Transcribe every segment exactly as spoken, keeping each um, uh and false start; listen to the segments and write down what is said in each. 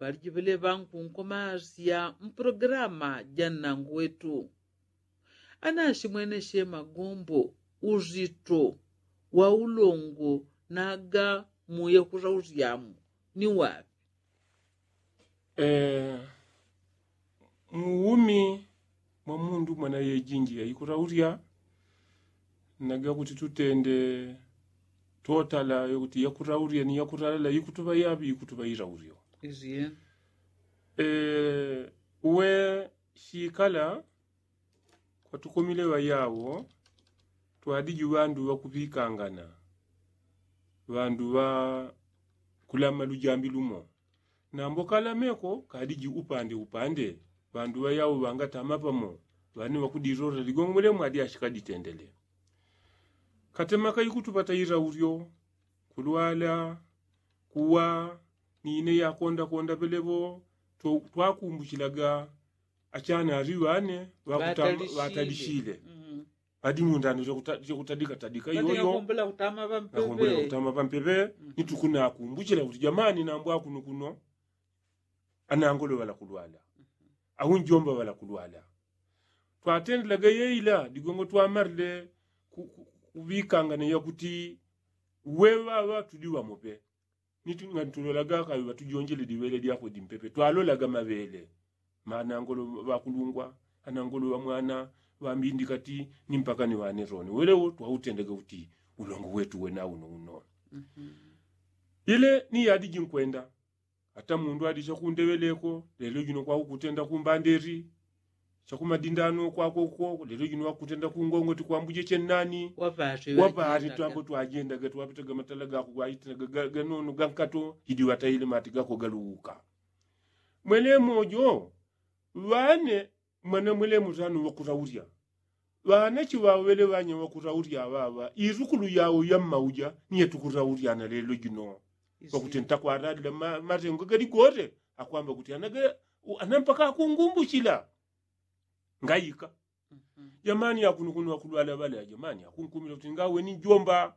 ŵalijiveleŵa nkunkomasya mpulogilama ja nnangu wetu. Anashimweneshe magombo uzito wa ulongo naga muye kutausyamu ni waŵi? Muumi mwa mundu mwana yejinji yaikutaulya naga kuti tutende totala yokuti yakutaulya ni yakutaulya ikutuŵa yaŵi ikutuŵa ilaulyo. Uwe shikala kwatukomile ŵayawo twadiji ŵandu ŵakuŵikangana ŵandu ŵakulama lujambi lumo. Nambo kalameko kadiji upande upande ŵandu ŵayawo ŵangatama pamo ŵane ŵakudilolele ligongomwele mwadi ashikaditendele. Katema kaikutuŵa taila ulyo kulwala kuwa ni ine yakondakonda pelepo. Twakumbuchilaga achana ali ŵane ŵakutam- ŵatalishile adi mundano chakutadika tadika iyoyo. Nakumbula kutama ŵampeŵe ni tukunakumbuchila kuti jamani nambo akunukuno anangolo ŵalakulwala au njomba ŵalakulwala. Twatendelaga yeila digongo twamarile kuŵikangana yakuti weŵaŵa tudi ŵamope. Niti ngani tulolaga kaŵi ŵatujonjele diŵele dyakwe dimpepe twalolaga maŵele. Manangolo ŵakulungwa anangolo ŵamwana ŵambindikati ni mpaka ni ŵane roni welewo twautendaga uti ulongo wetu wena uno uno. Ile ni yadi jinkwenda ata mundu adi chakundeŵeleko lelo jino kwakukutenda kumbanderi chakumadindano kwakoko lelo jino wakutenda kungongoti kwambuje chennani. Wapati twambo twajendaga twapitaga matala gako gwaitinaga ganono gankato idi ŵataile mati gako galuwuka. Mwelemojo ŵane mwana mwelemo tano ŵakutaulya ŵanachi ŵaŵele ŵanya ŵakutaulya ŵaŵa isukulu yawo yammauja niye tukutaulya na lelo jino. Ŵakuti ntakwaralila matengo galigote akwamba kuti ana mpaka akungumbuchila ngaika. Jamani akunukuno ŵakulwala ŵale ajamani akunkumila kuti ngaweni njomba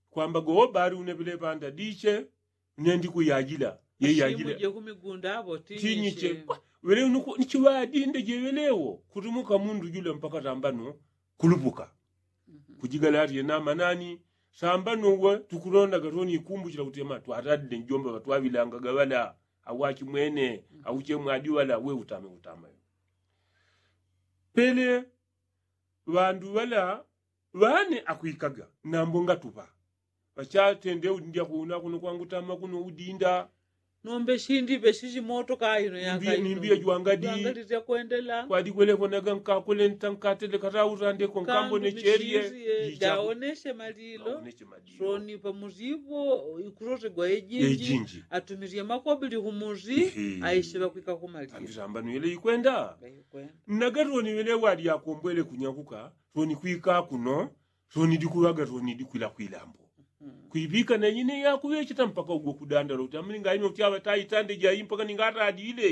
kwamba gowo bali uneŵele ŵanda diche nendikuyajila yeyajila. Tinyiche ŵele unuku nichiŵadinde jeŵelewo kutumuka mundu jula mpaka tambano kulupuka. Kujigala ati yenamanani sambano uwe tukulondaga toni ikumbuchila kuti ema twaradile njomba ŵatwaŵilangaga ŵala au achimwene au chemwadi ŵala we utame utamayo. Pele ŵandu ŵala ŵane akwikaga nambo ngatuŵa ŵachatende udindya kuno akuno kwangutama kuno udinda. Nombe shindi ŵeshishi moto kaino yakaino ni mbiya jwangadi kwadikweleko naga nkakole ntankatele katautandeko nkambone chelie. Jaoneshe malilo soni pamuzipo ikutotegwa ejinji atumirie makobili kumuzi aishe ŵakwika kumalilo. Ambano yele ikwenda naga toni ŵele wadi akombwele kunyakuka toni kwika kuno toni dikuŵaga toni dikwila kwilambo. Kwiŵika na ine yakuŵecheta mpaka ugwe kudandala kuti amuli ngaino kuti aŵa taitande jai mpaka ningaradile.